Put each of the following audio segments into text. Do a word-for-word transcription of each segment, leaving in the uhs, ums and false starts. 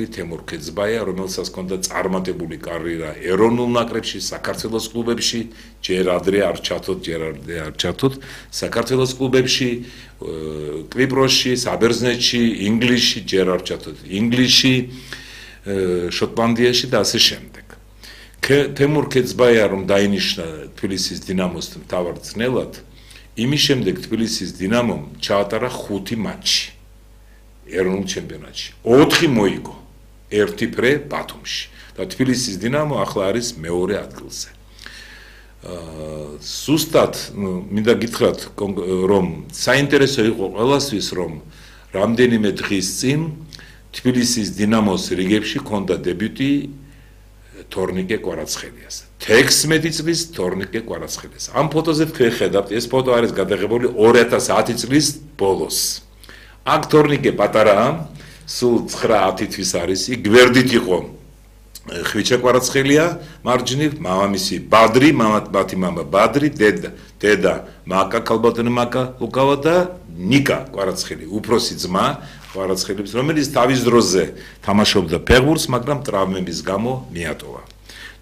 თემურ ქეძბაია, რომელსაც ჰქონდა წარმატებული კარიერა ეროვნულ ნაკრებში, საქართველოს კლუბებში, ჯერ ადრე არ ჩათოთ, ჯერ ადრე არ ჩათოთ, საქართველოს კლუბებში, კვიპროსში, საბერძნეთში, ინგლისში, ჯერ არ ჩათოთ, ინგლისში, შოტლანდიაში და ასე შემდეგ. თემურ ქეძბაია რომ დაინიშნა თბილისის დინამოს მთავარ მწვრთნელად, იმის შემდეგ თბილისის დინამომ ჩაატარა ხუთი მატჩი ეროვნულ ჩემპიონატში. ოთხი მოიგო. ერთი ფრე ბათუმში და თბილისის დინამო ახლა არის მეორე ადგილზე. ზუსტად მინდა გითხრათ რომ საინტერესო იყო ყველასთვის რომ რამდენიმე დღის წინ თბილისის დინამოს რიგებში ჰქონდა დებიუტი თორნიკე კვარაცხელიას. თექვსმეტი წლის თორნიკე კვარაცხელიას. ამ ფოტოზე თქვენ ხედავთ, ეს ფოტო არის გადაღებული ორი ათას ათი წლის ბოლოს. აქ თორნიკე პატარაა, სულ ცხრა ათი თვის არის, იქ გვერდით იყო ხვიჩა კვარაცხელია, მარჯვნივ მამამისი ბადრი, მამათმათი მამა ბადრი, დედა, დედა მაკა ქალბატონი მაკა ლუკავა და ნიკა კვარაცხელი, უფროსი ძმა კვარაცხელის, რომელიც თავის დროზე თამაშობდა ფეხბურთს, მაგრამ ტრავმების გამო მიატოვა.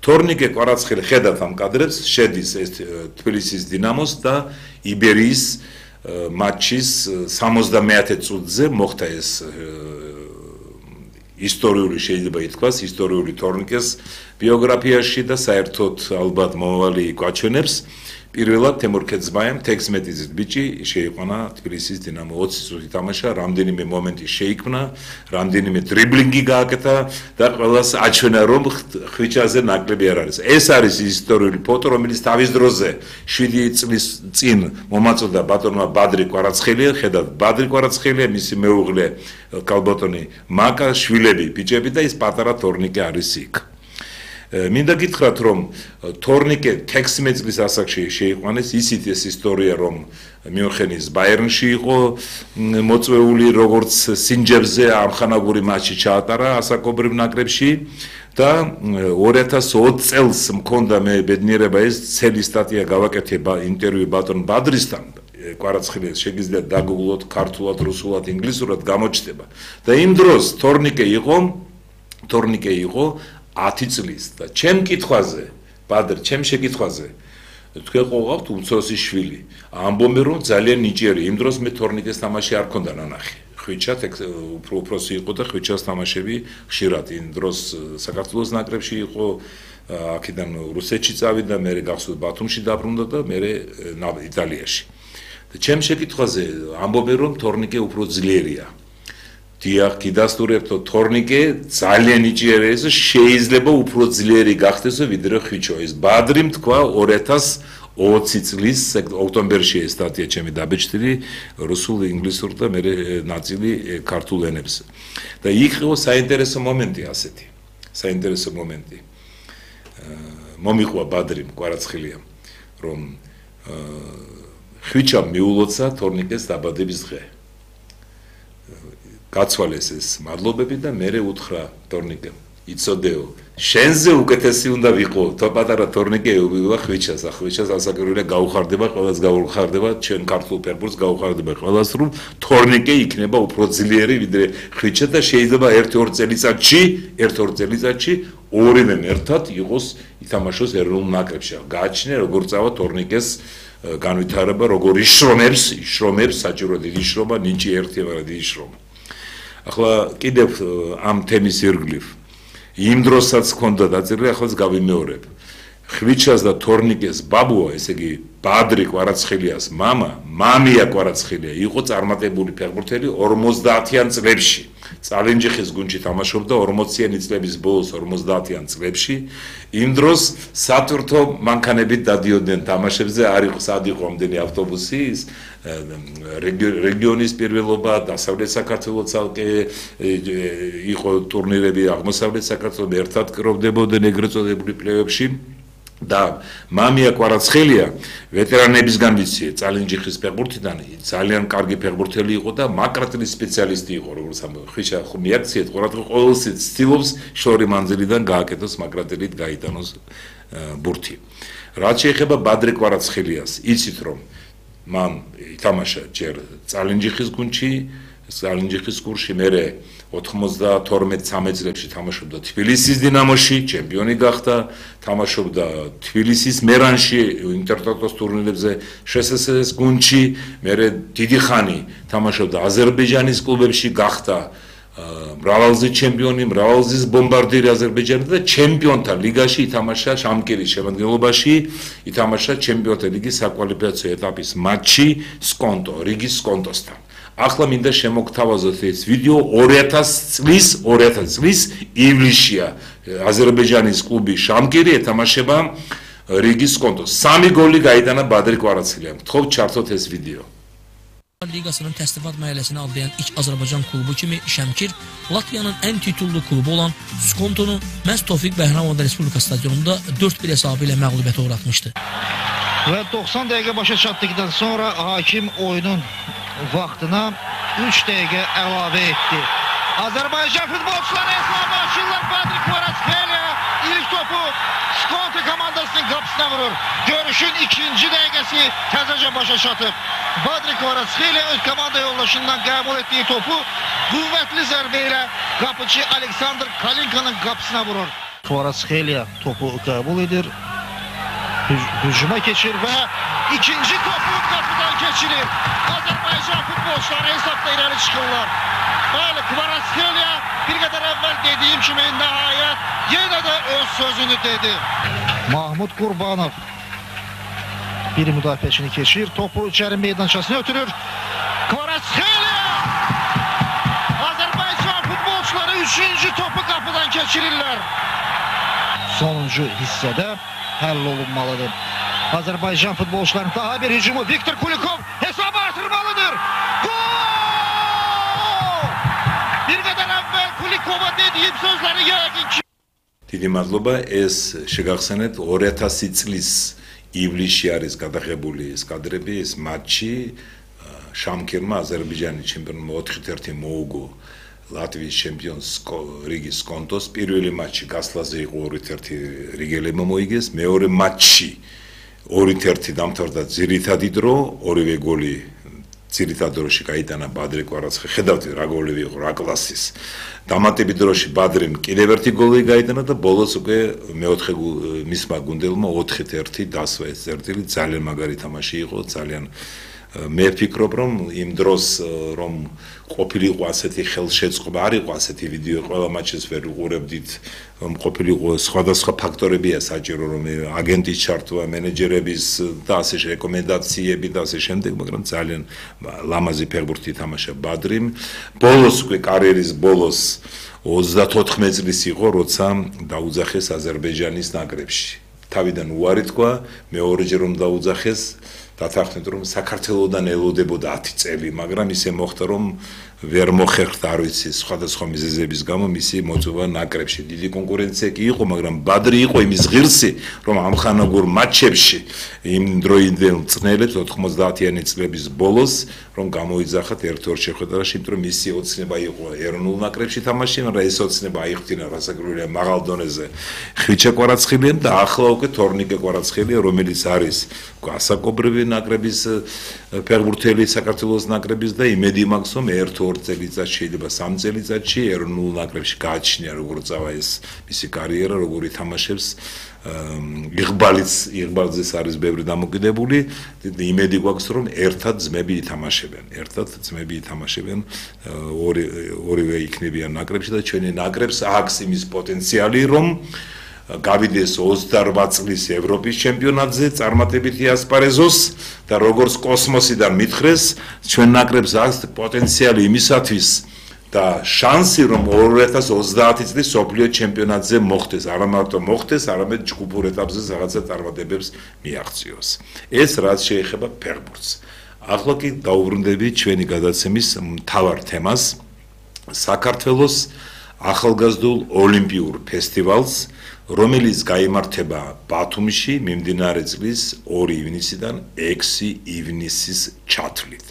თორნიკე კვარაცხელი ხედავთ ამ კადრებს, შედის ეს თბილისის დინამოს და იბერიის მატჩის სამოცდამეათე წუთზე მოხდა ეს ისტორიული შეიძლება ითქვას, ისტორიული თორნიკეს ბიოგრაფიაში და საერთოდ ალბათ მომავალი გვაჩვენებს. პირველად თემურ ქეძბაიამ თექვსმეტი წლის ბიჭი შეიყვანა თბილისის დინამო, ოცი წუთი თამაშა, რამდენიმე მომენტი შეიქმნა, რამდენიმე დრიბლინგი გააკეთა და ყველას აჩვენა რომ ხვიჩაზე ნაკლები არ არის. ეს არის ისტორიული ფოტო, რომელიც თავის დროზე შვიდი წლის წინ მომაწოდა ბატონმა ბადრი კვარაცხელია, ხედავთ ბადრი კვარაცხელია, მისი მეუღლე ქალბატონი მაკა, შვილები, ბიჭები და ის პატარა თორნიკე არის იქ. მინდა გითხრათ რომ თორნიკე თექვსმეტი წლის ასაკში შეიყვანეს, ისიც ეს ისტორია რომ მიუნხენის ბაიერნში იყო მოწვეული, როგორც სინჯებზე ამხანაგური მატჩი ჩაატარა ასაკობრივ ნაკრებში და ორი ათას ოცი წელს მქონდა მე ბედნიერება ეს ცელი სტატია გავაკეთე ინტერვიუ ბატონ ბადრისთან. კვარაცხელიას შეგიძლიათ დაგუგლოთ ქართულად, რუსულად, ინგლისურად გამოჩნდება. და იმ დროს თორნიკე იყო, თორნიკე იყო ათი წლის და ჩემ კითხვაზე, ბადრ, ჩემ შეკითხვაზე, თქვენ ყოყავთ უმცროსი შვილი. ამბობენ რომ ძალიან ნიჭიერი, იმ დროს მე თორნიკეს თამაში არ მქონდა ნანახი. ხვიჩა უფრო უფროსი იყო და ხვიჩას თამაშები ხშირად იმ დროს საქართველოს ნაკრებში იყო, აქედან რუსეთში წავიდა, მე გახსოვთ ბათუმში დაბრუნდა და მე იტალიაში. და ჩემ შეკითხვაზე ამბობენ რომ თორნიკე უფრო ძლიერია. დიახ, გიდასტურებთო, თორნიკე ძალიან ნიჭიერია, შეიძლება უფრო ძლიერი გახდეს ვიდრე ხვიჩო. ეს ბადრიმ თქვა ორი ათას ოცი წლის ოქტომბერში ეს სტატია ჩემი დაბეჭდილი რუსულ, ინგლისურ და მე ნაწილი ქართულ ენებზე. და იქ იყო საინტერესო მომენტი ასეთი. საინტერესო მომენტი. მომიყვა ბადრიმ კვარაცხელიამ, რომ ხვიჩამ მიულოცა თორნიკეს დაბადების დღე. გაცვალეს ეს მადლობები და მე უთხრა თორნიკემ, იცოდეო, შენზე უკეთესი უნდა ვიყო, თო პატარა თორნიკე უბივა ხვიჩას, ხვიჩას ასაკურვილია გაუხარდება, ყველას გაუხარდება, ჩვენ ქართულ ფეხბურთს გაუხარდება ყველას, რომ თორნიკე იქნება უფრო ძლიერი ვიდრე ხვიჩა და შეიძლება ერთ-ორ წელიწადში, ერთ-ორ წელიწადში ორივემ ერთად იყოს ითამაშოს ეროვნულ ნაკრებში. გააჩნია როგორ წავა თორნიკეს განვითარება, როგორ იშრომებს, იშრომებს, საჭირო დიდი შრომა, ნიჭი ერთი, მაგრამ დიდი შრომა. ახლა კიდევ ამ თემის ირგვლივ იმ დროსაც ჰქონდა დაწერილი, ახლა გავიმეორებ. ხვიჩას და თორნიკეს ბაბუა, ესე იგი ბადრი კვარაცხელიას მამა, მამია კვარაცხელია, იყო წარმატებული ფეხბურთელი ორმოცდაათიან წლებში. წალენჯიხის გუნდში თამაშობდა ორმოციანი წლების ბოლოს ორმოცდაათიან წლებში. იმ დროს სატვირთო მანქანებით დადიოდნენ თამაშებზე, არ იყო სად იყო ამდენი ავტობუსი, რეგიონის პირველობა, დასავლეთ საქართველოს ცალკე იყო ტურნირები, აღმოსავლეთ საქართველოს ერთად კროვდებოდნენ ეგრეთ წოდებული პლეიოფში. და მამია კვარაცხელია ვეტერანებისგან ვიცი, წალენჯიხის ფეხბურთიდან ძალიან კარგი ფეხბურთელი იყო და მაკრატელის სპეციალისტი იყო, როგორც ხვიჩა მიაქციეთ, ყოველთვის ცდილობს შორი მანძილიდან გააკეთოს მაკრატელით გაიტანოს ბურთი. რაც შეეხება ბადრი კვარაცხელიას, იცით რომ მან ითამაშა ჯერ წალენჯიხის გუნდში, წალენჯიხის კურსში, მერე ოთხმოცდათორმეტ ცამეტ წლებში თამაშობდა თბილისის დინამოში, ჩემპიონი გახდა, თამაშობდა თბილისის მერანში, ინტერტოტოს ტურნირებზე, შსსს გუნდში, მერე დიდი ხანი თამაშობდა აზერბაიჯანის კლუბებში, გახდა მრავალგზის ჩემპიონი, მრავალგზის ბომბარდირი აზერბაიჯანზე და ჩემპიონთა ლიგაში ითამაშა შამკირის შემადგენლობაში, ითამაშა ჩემპიონთა ლიგის საკვალიფიკაციო ეტაპის მატჩი სკონტო, რიგის სკონტოსთან. ახლა მინდა შემოგთავაზოთ ეს ვიდეო ორი ათას წლის, ორი ათას წლის ივლისშია აზერბაიჯანის კლუბი შამკირი ეთამაშება რიგის სკონტოს. სამი გოლი გაიტანა ბადრი კვარაცხელიამ. G'xo'p, çartot ez video. Liqasının təsnifat mərhələsini adlayan ilk Azərbaycan klubu kimi Şəmkir Latviyanın ən titullu klubu olan Skontonu məhz Tofiq Bəhramovun Respublika stadionunda dörd bir hesabı ilə məğlubiyyətə uğratmışdı. Və doxsan dəqiqə başa çatdıqdan sonra hakim oyunun vaxtına üç dəqiqə əlavə etdi. Azərbaycan futbolçuları hesablaşırlar. Badri Kvaratskhelia ilk topu Skonto komandasının qapısına vurur. Görüşün ikinci dəqiqəsi təzəcə başa çatıb. Badri Kvaratskhelia öz komanda yoldaşından qəbul etdiyi topu qüvvətli zərbə ilə qapıcı Aleksandr Kalinkanın qapısına vurur. Kvaratskhelia topu qəbul edir. Hücuma keçir və ikinci topu qapıdan keçirir. Azərbaycan futbolçuları hesabda irəli çıxırlar. Bəli, Kvaratskhelia bir qədər əvvəl dediyim kimi nəhayət yenə də öz sözünü dedi. Mahmud Qurbanov bir müdafiəçini keçir, topu içəri meydançasına ötürür. Kvaratskhelia! Azərbaycan futbolçuları üçüncü topu qapıdan keçirirlər. Sonuncu hissədə həll olunmalıdır. Azərbaycan futbolçularının daha bir hücumu Viktor Kulikov hesabı artırmalıdır. Gol! Bir qədər əvvəl Kulikova dediyim sözləri yəqin ki. დიდი მადლობა, ეს შეგახსენეთ ორი ათასი წლის ივლისში არის გადაღებული ეს კადრები, ეს მატჩი შამკირმა აზერბაიჯანის ჩემპიონმა ოთხი ერთი მოუგო ლატვიის ჩემპიონს რიგის სკონტოს. პირველი მატჩი გასვლაზე იყო ორი ერთი რიგელებმა მოიგეს, მეორე მატჩი ორი ერთი დამთავრდა ძირითადი დრო, ორივე გოლი ძირითად დროში გაიტანა ბადრი კვარაცხელია. ხედავთ რა გოლები იყო, რა კლასის. დამატებით დროში ბადრიმ კიდევ ერთი გოლი გაიტანა და ბოლოს უკვე მეოთხე მისმა გუნდელმა ოთხი ერთი დასვა ეს წერტილი. ძალიან მაგარი თამაში იყო, ძალიან მე ვფიქრობ, რომ იმ დროს რომ ყოფილიყო ასეთი ხელშეწყობა, არ იყო ასეთი ვიდეო, ყველა მატჩს ვერ უყურებდით, რომ ყოფილიყო სხვადასხვა ფაქტორებია საჭირო, რომ აგენტის ჩართვა, მენეჯერების და ასე რეკომენდაციები და ასე შემდეგ, მაგრამ ძალიან ლამაზი ფეხბურთი თამაშა ბადრიმ. ბოლოს უკვე კარიერის ბოლოს ოცდათოთხმეტ წლის იყო, როცა დაუძახეს აზერბაიჯანის ნაკრებში. თავიდან უარი თქვა, მეორეჯერ რომ დაუძახეს დათანხმდა რომ საქართველოსდან ელოდებოდა ათი წელი, მაგრამ ისე მოხდა რომ ვერ მოხერხდა, არ ვიცი, სხვადასხვა მიზეზების გამო მისი მოწვევა ნაკრებში. დიდი კონკურენცია კი იყო, მაგრამ ბადრი იყო იმის ღირსი, რომ ამხანაგურ მატჩებში იმ დროინდელ მწნელებს ოთხმოცდაათიანი წლების ბოლოს რომ გამოიძახათ ერთ-ორ შეხვედრაში, იმიტომ რომ მისი ოცნება იყო ეროვნულ ნაკრებში თამაში, მაგრამ ეს ოცნება აიხდინა რასაკვირველია მაღალ დონეზე ხვიჩა კვარაცხელიამ და ახლა უკვე თორნიკე კვარაცხელია, რომელიც არის ასაკობრივი ნაკრების ფეხბურთელი საქართველოს ნაკრების და იმედი მაქვს რომ ერთ-ორ წელიწადში შეიძლება სამ წელიწადში ეროვნულ ნაკრებში გააჩნია როგორ წავა ეს მისი კარიერა, როგორ ითამაშებს იღბალიც იღბალზეც არის ბევრი დამოკიდებული. იმედი გვაქვს რომ ერთად ძმები ითამაშებენ, ერთად ძმები ითამაშებენ, ორი ორივე იქნებიან ნაკრებში და ჩვენი ნაკრებს აქვს იმის პოტენციალი რომ გავიდეს ოცდაორ წლის ევროპის ჩემპიონატზე, წარმატებით იასპარეზოს და როგორც კოსმოსიდან მითხრეს, ჩვენ ნაკრებს აქვს პოტენციალი იმისათვის და შანსი რომ ორი ათას ოცდაათი წლის სოფლიო ჩემპიონატზე მოხდეს, არა მარტო მოხდეს, არამედ ჯგუფურ ეტაპზე რაღაცა წარმატებებს მიაღწიოს. ეს რაც შეეხება ფეხბურთს. ახლა კი დაუბრუნდები ჩვენი გადაცემის მთავარ თემას, საქართველოს ახალგაზრდულ ოლიმპიურ ფესტივალს, რომელიც გაიმართება ბათუმში მიმდინარე წლის ორი ივნისიდან ექვსი ივნისის ჩათვლით.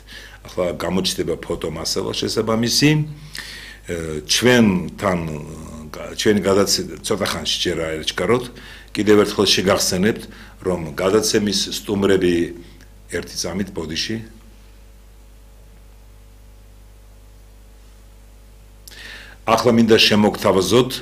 ახლა გამოჩნდება ფოტომასალა შესაბამისი. ჩვენთან ჩვენი გადაცემა ცოტა ხანში ჯერ აერჩქაროთ. კიდევ ერთხელ შეგახსენებთ, რომ გადაცემის სტუმრები ერთი წამით ბოდიში ახლა მინდა შემოგთავაზოთ